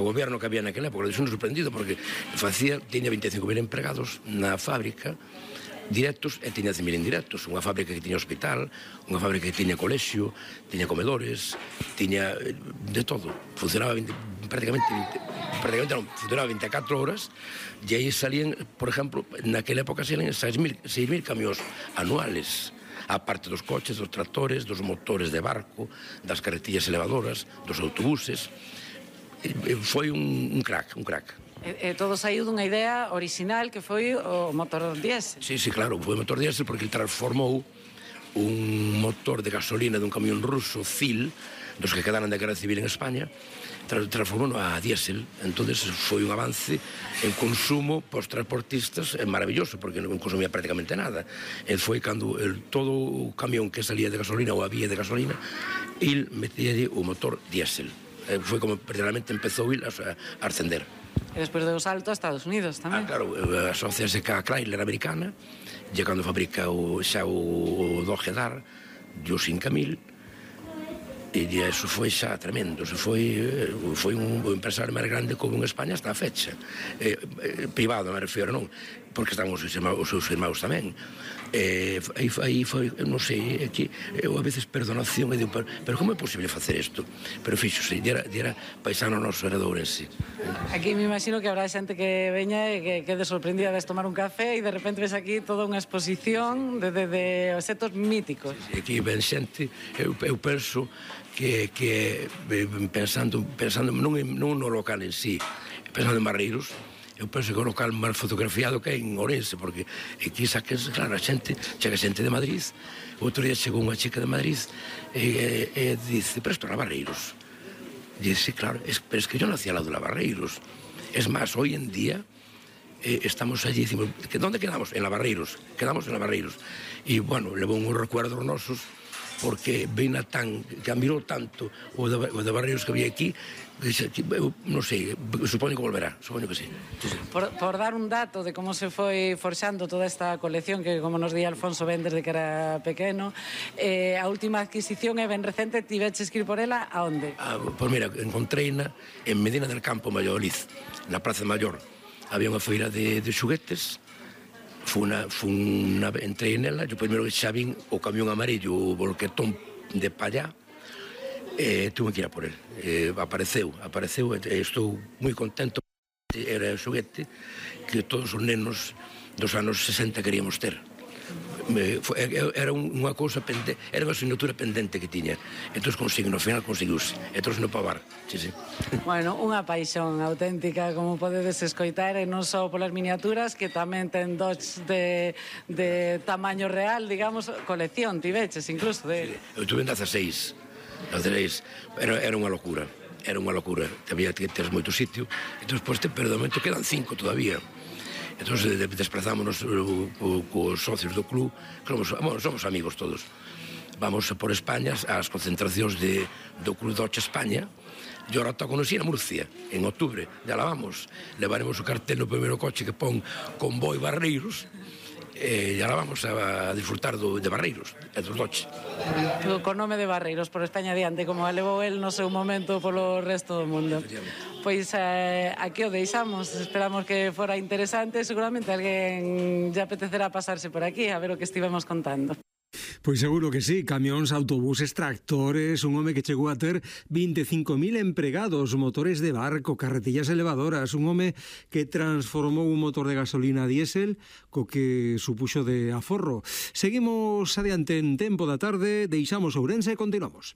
O goberno que había naquela época, deixou sorprendido porque tiña 25.000 empregados na fábrica directos e tiña 100.000 indirectos. Unha fábrica que tiña hospital, unha fábrica que tiña colexio, tiña comedores, tiña de todo. Funcionaba prácticamente non, funcionaba 24 horas e aí salían, por exemplo, naquela época salían 6.000 camións anuales, aparte dos coches, dos tractores, dos motores de barco, das carretillas elevadoras, dos autobuses. Foi un crack. E todo saiu dunha idea original que foi o motor diésel. Sí, claro, foi o motor diésel porque ele transformou un motor de gasolina dun camión ruso, CIL, dos que quedaran da Guerra Civil en España, transformou a diésel. Entón foi un avance en consumo para os transportistas maravilloso, porque non consumía prácticamente nada. Foi cando todo o camión que salía de gasolina ou había de gasolina, ele metía o motor diésel. Foi como realmente empezou a ascender. E despois deu o salto a Estados Unidos tamén. Claro, asociase ca Chrysler americana, e cando fabrica xa o Dodge Dart, o 5000, e iso foi xa tremendo. Foi un empresario máis grande como en España hasta a fecha. Privado, me refiro, non? Porque estaban os seus irmãos tamén. Aí foi, non sei, eu a veces perdo a noción e digo, pero como é posible facer isto? Pero fíxose, era paisano noso, era de Ourense. Aquí me imagino que habrá xente que veña e que quede sorprendida de tomar un café e de repente ves aquí toda unha exposición de objetos míticos. Aquí ven xente, eu penso que pensando non no local en sí, pensando en Barreiros, eu penso que é o local máis fotografiado que hai en Ourense, porque aquí saques, claro, a xente, chega xente de Madrid, outro día chegou unha chica de Madrid e dice, pero isto era Barreiros. Dice, claro, pero es que yo nací al lado de la Barreiros. Es más, hoy en día estamos allí, decimos, ¿dónde quedamos? En la Barreiros, quedamos en la Barreiros. Y bueno, levou uns recuerdos nosos, porque Beina que admirou tanto o de Barreiros que había aquí, non sei, supoño que volverá, supoño que sí. Por dar un dato de como se foi forxando toda esta colección, que como nos di Alfonso ben desde que era pequeno, a última adquisición é ben recente, tiveches que ir por ela, a onde? Pois mira, encontreina en Medina del Campo, Valladolid, na Praza Mayor. Había unha feira de xuguetes, entrei nela, yo primeiro que xa vin o camión amarillo, o volquetón de pallá, tuve que ir a por él. Apareceu, e estou moi contento. Era o xoguete que todos os nenos dos anos 60 queríamos ter. Era unha cousa pendente, era unha asignatura pendente que tiña. Entón no final conseguiuse, e trouxe no pavar. Bueno, unha paixón auténtica, como podedes escoitar, e non só polas miniaturas, que tamén ten Dodge de tamaño real, digamos, colección, tiveches incluso de... Eu tuve en 16. Era unha locura, había que ter moito sitio, entón, pero de momento quedan 5 todavía. Entón, desplazámonos cos socios do club, que somos amigos todos. Vamos por España ás concentracións do Club Dodge España, e ahora tóconos ir a Murcia, en outubro, ya la vamos. Levaremos o cartel no primeiro coche que pon Convoy Barreiros, e ahora vamos a disfrutar de Barreiros, e dos Dodge. Con nome de Barreiros, por España adiante, como a levou el no seu momento polo resto do mundo. Pois aquí o deixamos, esperamos que fora interesante, seguramente alguén lle apetecerá pasarse por aquí a ver o que estivemos contando. Pois seguro que sí, camións, autobuses, tractores, un home que chegou a ter 25.000 empregados, motores de barco, carretillas elevadoras, un home que transformou un motor de gasolina a diésel co que supuxo de aforro. Seguimos adiante en Tempo da Tarde, deixamos Ourense e continuamos.